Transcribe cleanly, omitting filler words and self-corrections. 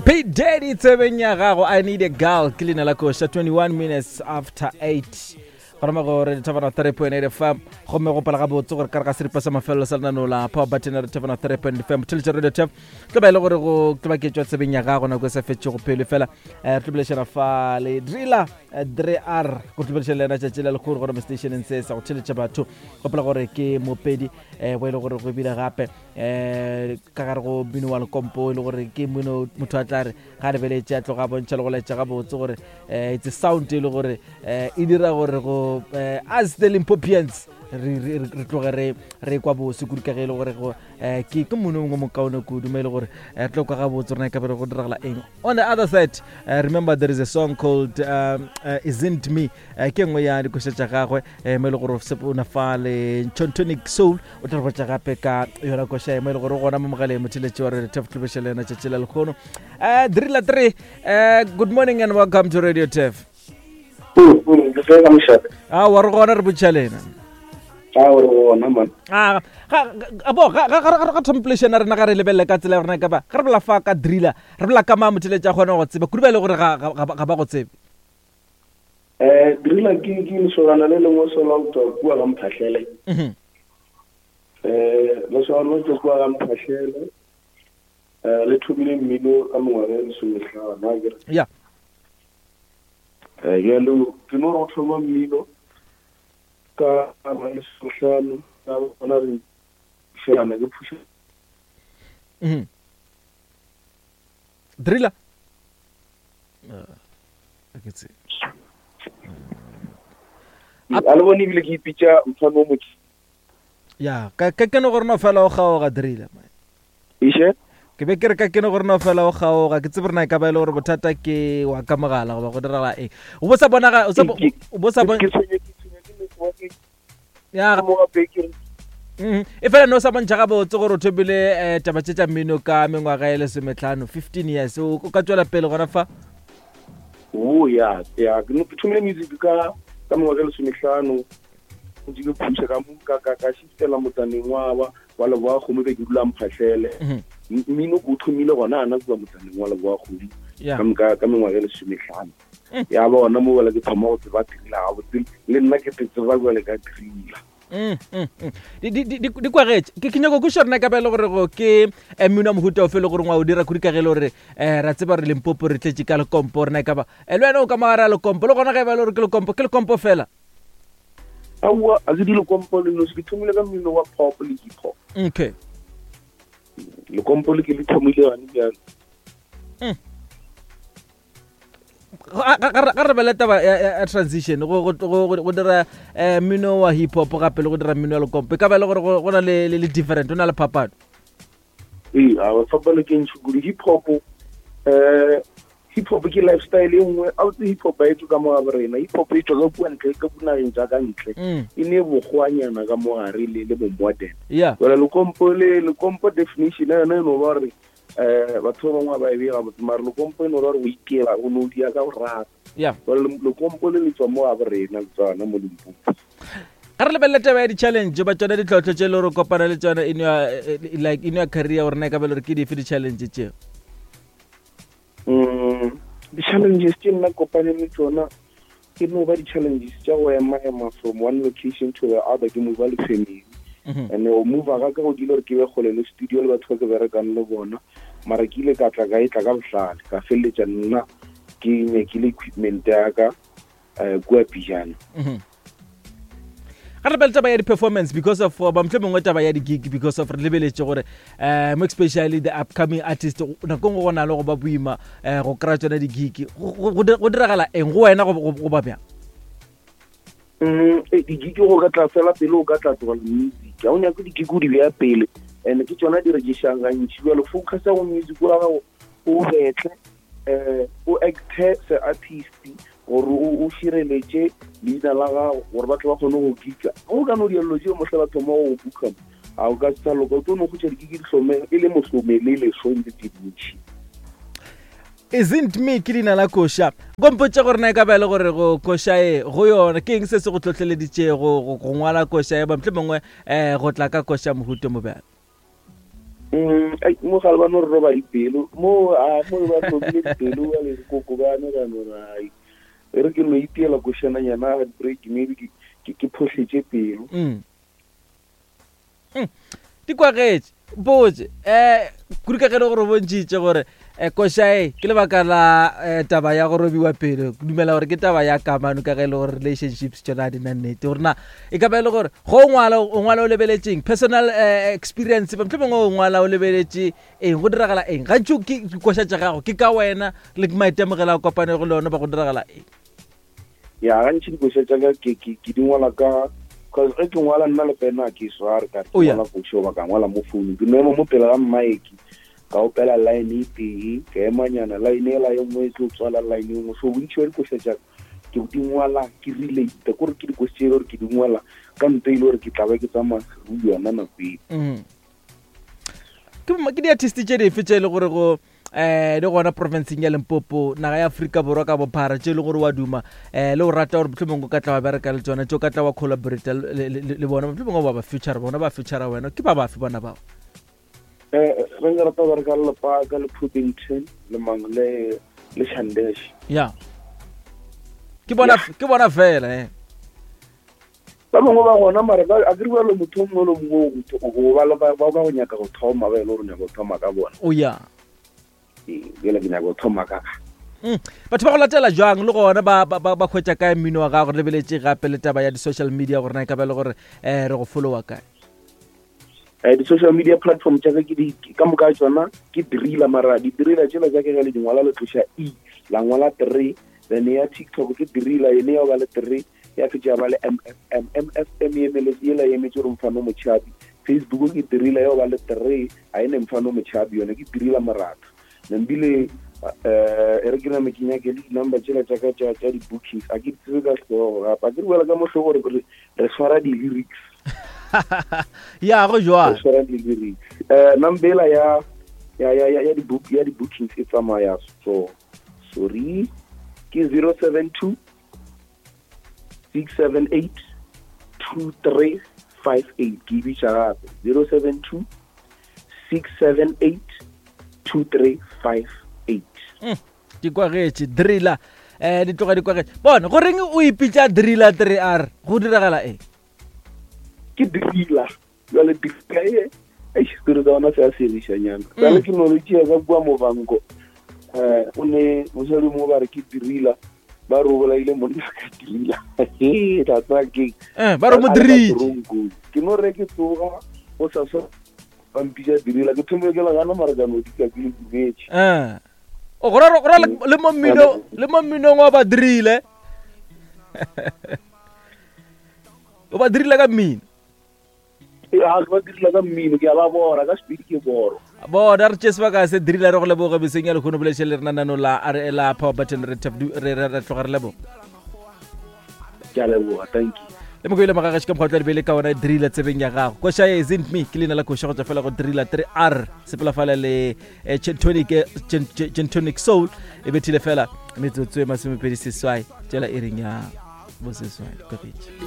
P Daddy tsebeng ya gago I need a girl ke leina la koša 21 minutes after 8 gona mo go re thabana 3.8 fm gomme go pala gabotse gore ka re ga seripa sa mafelelo sa lenaneo la power button re thabana 3.8 fm theletša radio tap tlo ba e le gore go tlo ba ke tšwa tsebeng ya gago nako e sa fetšego pele fela eh, re tlo bolešana fa le driller eh, dre r go tlo bolešana le yena tšatši la lekgolo gore mo stationeng se sa go theletša batho gopola gore ke mopedi um bo e le gore go ebile gape um ka gare go mmino wa lekompo e le gore ke mmino motho a tla re ga lebeletše a tloga a bontšha le go laetša gabotse gore um it's a sound e le gore um e dira gore go um as the limpopians re tloge re re kwa bose kudu ka ge e le gore go um ke ke mmino mongwe mokaone kudu mo e le gore re tlo kwa gabotse rona e ka bere go diragala eng on the other side uh, remember there is a song called um, uh, isn't me uh, ke nngwe ya dikoša tša gagwe um mo e le gore o na fa le chontonic soul o tla re botša gape ka yona koša e mo e le gore gona mo mogaleng motheletši wa re tef tlobeša le yona tšatši la lekgono um drilla 3 um good morning and welcome to radio tef a wa re gona re botša lena ga thomplation a rena ga re lebelele ka tsela ya rena ka ba ga re bola fa ka driller re bola ka maa motheletši a kgone go tseba kudu ba e le gore ga ba go tsebe Eh, driller ke ke lesolana le lengwe sola go tswa kua ga Mphahlele. Mhm. Eh, lesolana le tswa kua ga Mphahlele. Eh, le thomile mmino ka mengwaga e lesomehlano, a kere. Ya. Eh, bjalo ke no re go thoma mmino ka ngwaga e lesomehlano, ka bona re šelana ke phuša. Mhm. Driller. Ke tsebe. A le bone ebile ke ipitša mfano o motši. Ya, ka ka ke no gore no fela o kgaoga driller. Iše? Ke be ke re ka ke no gore no fela o kgaoga, ke tsebe rena e ka ba e le gore bothata ke wa ka mogala goba go diragala eng. O bo sa bona o sa o bo sa bona Ke tshwenye ke tshwenye ke network. Ya. Mo gape ke re Mm, e fela no sa bontšha gabotse gore o thomile um taba tše tša mmino ka mengwaga e lesometlhano 15 years o ka tswela pele gona fa o ya ya ke no- ke thomile music ka ka mengwaga e lesometlhano ntse ke phuša ka mo- ka ka ka shiftela motsaneng wa wa wa leboa kgomo be ke dula mphahlele Mhm. Mmino ke o thomile gona ana kua motsaneng wa leboa kgomo Ya. ka ka ka mengwaga e lesometlhano ya ba gona mo bjale ke thoma go tseba thriller gabotse le nna ke te tseba jale ka thriller Mm, mm, mm. Di kwagetše ke nyako kweša rena ka ba e le gore go ke eh, mmino wa mohuta ofe e le gore ngwa o dira kudu ka ge e le gore um ra tseba gore limpopo re tletše ka lekompo rena e ka ba eh, le wena o ka mogare a lekompo le gona ge e ba e le gore ke lekompo ke lekompo fela aowa a ke di lekompo le nosi ke thomile ka mmino wa pop le hip hop okay lekompo le ke le thomile gane bjalo Ga re bele taba ya transition go dira eh, mmino wa hip hop gape le go dira mmino wa lekompo e ka ba e le gore go na le different o na le phapano ee a phapano ke ntšhi kudu hip hop um hip hop ke lifestyle e nngwe a botse hip hop a e tswe ka mo ga borena hip hop e tswa ka kua ntle ka kunageng tsa ka ntle mm. e ne bokgwanyana ka mo gare le le bo-modern yeah jale lekompo le lekompo definition ya yona e no ba gore um batho ba bangwe ba e bee gabotse mare lekompo e no ra gore o ikela o no dia ka go rata yeah jale lekompo le le tswa mo ga borena le tswa gona mo limpopo ga re lebelele taba ya di-challenge ba tsone ditlhotlho tse e le gore kopana le tsone in your, eh, eh, like in your career gore na e ka ba le gore ke dife di-challenge tseo mm, di-challenges tse nna kopane le tsona ke no ba di-challenges tša go ema ema from one location to the other ke move le family mhm. and o move ga ka go dile gore ke be kgole le studio le batho ba ke berekang le bona mara ke ile ka tla ka e tla ka bohlale ka feleletša nna ke nyakile equipment ya ka um kua pijana mhm. Ga re lebele taba ya di-performance because of ba motlho mongwe taba ya di-gig because of re lebeletše gore um mo especially the upcoming artist nako ngwe go na le go ba boima um go kry-a tsone di-gig go diragala eng go wena go ba bjang mm, eh, di-gig go ka tla fela pele o ka tla tlogela music ga o nyake di-gig o di beya pele and ke tsona di rekišang gantši jalo focus go music wa gago o betle um o acte se artist gore o šireletše leina la gago gore batho ba kgone go kika go ka no diallo tšeo mohla ba thoma go buka ga o ka sa loka o tlo no go dikiki dihlome e le mohlome le leso ntse tse dintšhi Isn't me ke leina la koša kompotše gore na e ka ba e le gore go koša e go yona ke eng se se go tlhotlheleditšego go ngwala koša e ba mohlomongwe um go tla ka koša mohuto mo bjalo um Mm, ai, mo gale ba no re roba dipelo mo a mo ba robile dipelo ba le koko ba ne ba no re ai e re ke no itiela košananyana heartbreak maybe ke ke ke phohletše pelo mm. Mm. Di kwagetše mpotše um kudu ka ge le gore o bontšhitše gore um koša e ke lebaka la um taba ya go robiwa pelo ke dumela gore ke taba ya kamano ka ge e le gore relationships tšona di na nnete gore na e ka ba e le gore go o ngwala o ngwala o lebeletšeng personal eh, experience ba mohlomongwe o ngwala o lebeletše eng go diragala eng gantši ke dikoša tša gago ke ka wena le maitemogelo a kopanego le one ba go diragala eng Ya gantši dikoša tša ka ke ke ke di ngwala ka cause ge ke ngwala nna le pena ke sware ka ke ngwala koša goba ka ngwala mo founung ke no ema mo pele ga mmaeke ka opela line e tee ka emanyana line ela ye nngwe e tlo tswala line e nngwe so bontši ba dikoša tša ka ke di ngwala ke relate kore ke dikoša tše e le gore ke di ngwala ka nto e le gore ke tla ba ke tsamaya through yona nako eo mm. ke di-artist tše dife tše e le gore go eh di gona provinceng ya Limpopo naga ya Afrika Borwa ka bophara tše e le gore wa duma eh le o rata gore mohlomongwe o ka tla wa bereka le tsona tše o ka tla wa collaborate le bona mohlomongwe wa ba future bona ba future wena ke ba bafe bona bao eh re nka rata go bereka le Lepaka le Puddington le mang le le Shandesh ya ke bona ke bona fela eh ba bangwe ba gona mara a ke rialo motho o mongwe le mongwe o ba ba ba go nyaka go thoma ba e le gore nyaka go thoma ka bona o ya ee bjale ke nyaka go thoma ka ka mm. batho ba go latela jwang le gona ba ba ba hwetša kae mmino wa gago re lebeletše gape le taba ya di-social media gore na e ka ba le gore um re go followa kae um di-social media platform tša ka ke di ka moka tsona ke driller mara di-driller tšela tša ke ge le dingwala le tloša e la ngwala three then ya tiktok ke driller ene ya ba le three ya fetša ya ba le mfm mfm e emeletse yela e emetse gore mfano motšhabi facebook ke dirila ya ba le three ga e ne mfano motšhabi yone ke dirila moratho nambile um e re ke name ke nyake le di-number tsela tša ka tša di-bookings a ke di tsebe ka hlogo gape a ke re boela ka mohlo gore re swara di-lyrics ya go jwang re swara di-lyrics um number ela ya ya ya ya di-book ya di-bookings e tsamaya so sorry ke 072 678 2358 ke e bitša gape 072 678 2358 mm, di kwagetše driller eh di tloga di kwagetše bona goreng o ipitša driller 3 r go diragala eng ke driller jale pika e eish selo tsa ona se a segišanyana mm. jale ke no le tšea ka kua movanko um eh, o ne mosadi mongwe ba re ke dirila ba re o bolaile monna ka dirila tla tsaya keng eh, ba re mo dirile ke no re ke tsoga go sa sa ba mpitša dirila ke thomile ke legana mara ka no dika ke le dumetse eh. o go ra le mo mmino le mo mminong wa ba dirile o ba dirile ka mmino ga ba direla ka mmino ke a ba bora ka sepedi ke boro bona re tše sebaka se dirila re go leboge beseng ya lekgono bolešhe le rena nano la re la power button re re tloga re leboga ke a leboga thank you le moko ile magagaši ka mokgwa tla lebele ka ona driller tsebeng ya gago koša e isn't me ke leina la koša go tswa fela go driller 3 r sepela fala le eh, gentonic soul e bethile fela metsotso e masomepedi seswai tšela e reng ya boseswai kopetše.